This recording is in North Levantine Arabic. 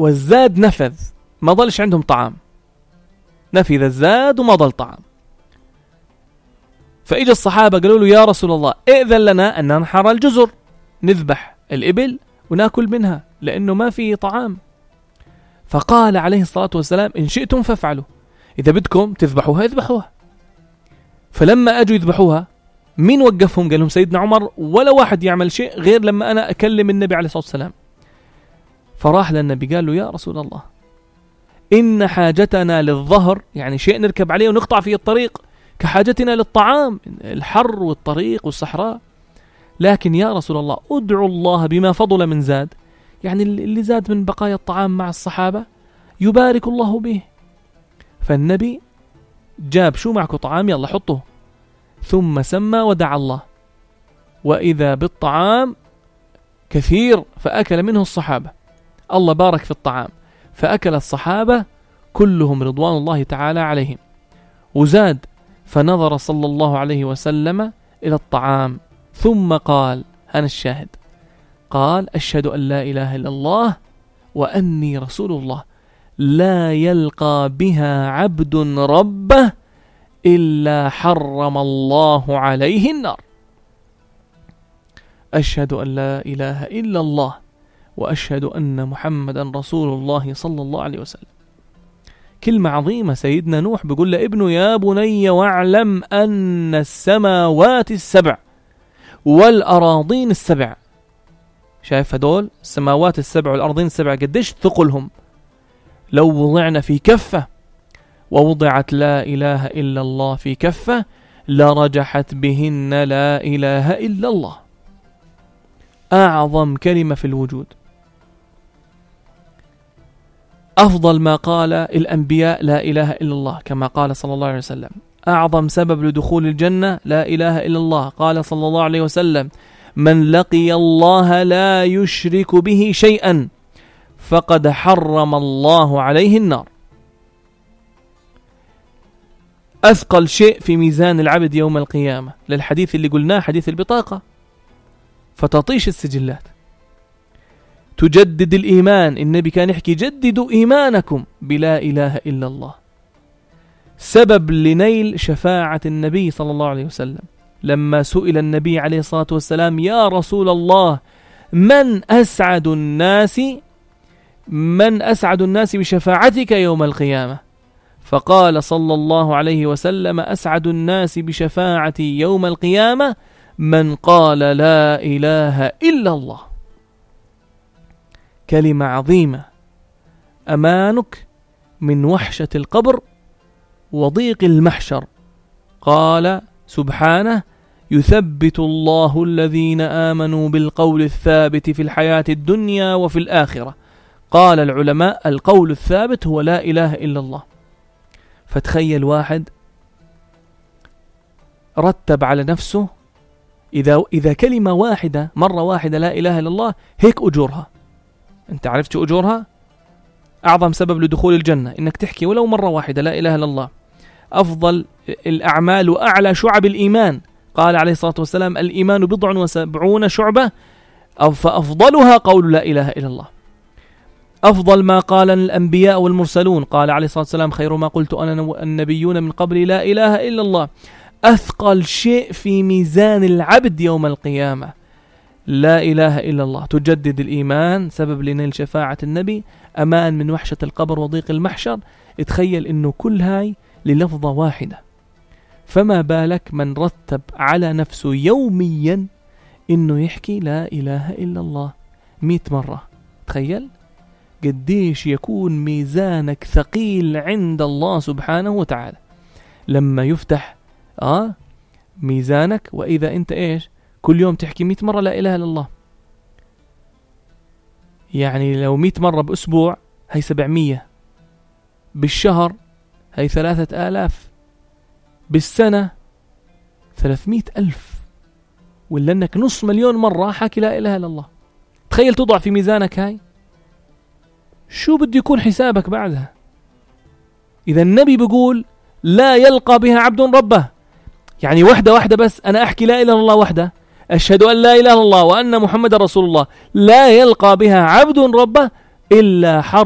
والزاد نفذ، ما ضلش عندهم طعام، نفذ الزاد وما ضل طعام. فإجا الصحابة قالوا له يا رسول الله ائذن لنا أن ننحر الجزر، نذبح الإبل ونأكل منها لأنه ما في طعام. فقال عليه الصلاة والسلام إن شئتم فافعلوا، إذا بدكم تذبحوها اذبحوها. فلما أجوا يذبحوها مين وقفهم؟ قال لهم سيدنا عمر ولا واحد يعمل شيء غير لما أنا أكلم النبي عليه الصلاة والسلام. فراح للنبي قال له يا رسول الله إن حاجتنا للظهر، يعني شيء نركب عليه ونقطع فيه الطريق، كحاجتنا للطعام، الحر والطريق والصحراء. لكن يا رسول الله ادعوا الله بما فضل من زاد، يعني اللي زاد من بقايا الطعام مع الصحابة يبارك الله به. فالنبي جاب شو معكم طعام يلا حطوه، ثم سمى ودعا الله، وإذا بالطعام كثير فأكل منه الصحابة، الله بارك في الطعام فأكل الصحابة كلهم رضوان الله تعالى عليهم. وزاد فنظر صلى الله عليه وسلم إلى الطعام ثم قال، أنا الشاهد، قال أشهد أن لا إله إلا الله وأني رسول الله، لا يلقى بها عبد ربه إلا حرم الله عليه النار. أشهد أن لا إله إلا الله وأشهد أن محمدا رسول الله صلى الله عليه وسلم. كلمة عظيمة. سيدنا نوح بيقول لابنه يا بني واعلم أن السماوات السبع والأراضين السبع، شايف هدول السماوات السبع والأراضين السبع قديش ثقلهم؟ لو وضعنا في كفة ووضعت لا إله إلا الله في كفة لرجحت بهن لا إله إلا الله، أعظم كلمة في الوجود. أفضل ما قال الأنبياء لا إله إلا الله كما قال صلى الله عليه وسلم. أعظم سبب لدخول الجنة لا إله إلا الله، قال صلى الله عليه وسلم من لقي الله لا يشرك به شيئا فقد حرم الله عليه النار. أثقل شيء في ميزان العبد يوم القيامة للحديث اللي قلناه حديث البطاقة، فتطيش السجلات، تجدد الإيمان. النبي كان يحكي جددوا إيمانكم بلا إله إلا الله، سبب لنيل شفاعة النبي صلى الله عليه وسلم. لما سئل النبي عليه الصلاة والسلام يا رسول الله من أسعد الناس بشفاعتك يوم القيامة؟ فقال صلى الله عليه وسلم أسعد الناس بشفاعتي يوم القيامة من قال لا إله إلا الله. كلمة عظيمة، أمانك من وحشة القبر وضيق المحشر. قال سبحانه يثبت الله الذين آمنوا بالقول الثابت في الحياة الدنيا وفي الآخرة. قال العلماء القول الثابت هو لا إله إلا الله. فتخيل واحد رتب على نفسه إذا كلمة واحدة مرة واحدة لا إله إلا الله هيك أجورها. أنت عرفت شو أجورها؟ أعظم سبب لدخول الجنة إنك تحكي ولو مرة واحدة لا إله إلا الله. أفضل الأعمال وأعلى شعب الإيمان، قال عليه الصلاة والسلام الإيمان 70 شعبة فأفضلها قول لا إله إلا الله. أفضل ما قال الأنبياء والمرسلون، قال عليه الصلاة والسلام خير ما قلت أنا والنبيون من قبل لا إله إلا الله. أثقل شيء في ميزان العبد يوم القيامة لا إله إلا الله، تجدد الإيمان، سبب لنيل شفاعة النبي، أمان من وحشة القبر وضيق المحشر. اتخيل إنه كل هاي للفظة واحدة، فما بالك من رتب على نفسه يوميا إنه يحكي لا إله إلا الله 100 مرة. تخيل قديش يكون ميزانك ثقيل عند الله سبحانه وتعالى لما يفتح ميزانك. وإذا أنت إيش كل يوم تحكي 100 مرة لا إله إلا الله، يعني لو 100 مرة بأسبوع هي 700، بالشهر هي 3000، بالسنة 300,000، ولا أنك 500,000 مرة حكي لا إله إلا الله. تخيل تضع في ميزانك هاي، شو بده يكون حسابك بعدها؟ إذا النبي بيقول لا يلقى بها عبد ربه، يعني واحدة بس أنا أحكي لا إله إلا الله وحدة، أشهد أن لا إله إلا الله وأن محمد رسول الله، لا يلقى بها عبد ربه إلا حرم